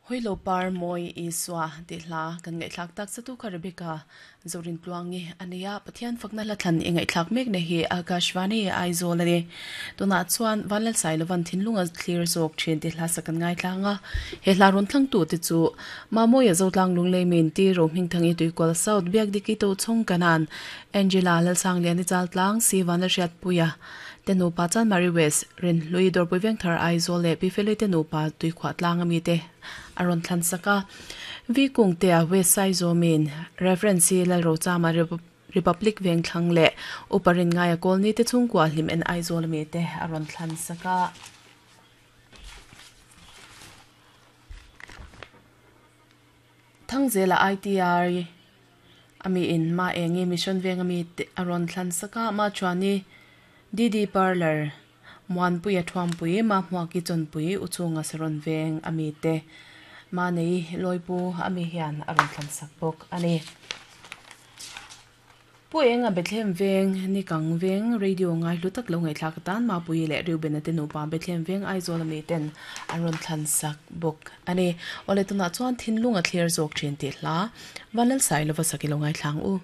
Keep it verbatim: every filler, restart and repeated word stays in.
Hoilo par moi iswa ti hla kan ngai thlak tak satu kha Rebecca zorin tluangi ania Pathian fakna la thlan ingai thlak mek ne hi Akashvani Aizawl ani tuna chuan vanlal sai lovan thinlunga clear zawk thin ti hla sakan ngai thlanga he hla ron thlang tu te chu mamoya zotlang lunglei min ti ro hming thangi tuikol south biak diki to chong kanan Angela lalsang liani chal tlang si vanla hriat puya tenu pa chan Mary West rin lui dor pui veng thar Aizawl le pi fele tenu pa tui khwa tlang ami te aron thlan saka vi kung te a west side zomin reference lal ro chama Republic veng thlang le uparin ngai a kolni te chungkwa hlim en Aizawl mi te aron thlan saka thangzela I T R ami in ma engi mission veng ami te aron thlan saka ma chuani D D parlor muan pui a thuam pui ma hmuaki chon pui uchunga saron veng ami te ma nei loipu ami hian aron thlan sak bawk ani pu enga Bethlehem veng ni kang veng radio ngai hlu tak lo ngai thlak tan ma pui le Reuben te nu pa Bethlehem veng Aizawl ami ten aron thlan sak bawk ani ole tuna chuan thinlunga thlir zawk thin ti hla vanlal sai lova sakilo ngai thlang u.